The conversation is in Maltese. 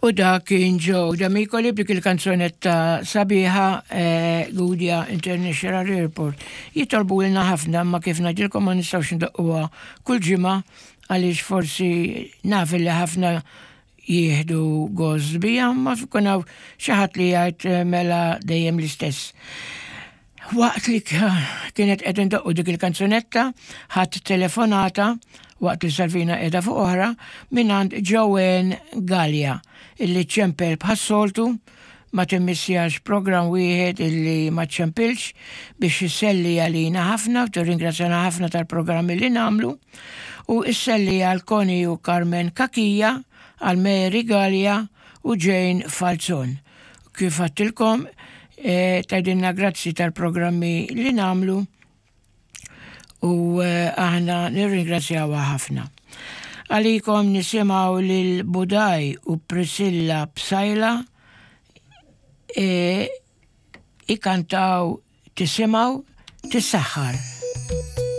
U dak kien Joe Demicoli b'dik il-kanzunetta sabiħa eh, Gudja International Airport. Jitolbu lna ħafna ma kif ngħidilkom ma nistgħux ndoqquha kull ġimgħa għaliex forsi naf li ħafna jieħdu gost bija, ma jkun hawn xi ħadd li jgħid eh, mela dejjem l-istess. Waqt li kienet qed indoqqu dik il-kanzunetta, ħadd telefonata waqt li Salvina qiegħda fuq oħra mingħand Joanne Gallia illi ċempel bħas-soltu ma timmissjax programm wieħed illi ma ċempilx biex isselli għalina ħafna u tirringrazzjana ħafna tal-programmi li nagħmlu u isselli għal Connie u Carmen Kakija, għal Mary Gallia u Jane Falzon. Kif għattilkom, e, tgħidilna grazzi tal-programmi li nagħmlu u e, aħna nirringrazzjawha ħafna. Għalikom nisimgħu lil Budaj u Priscilla Psaila e, ikantaw tisimgħu tissaħħar.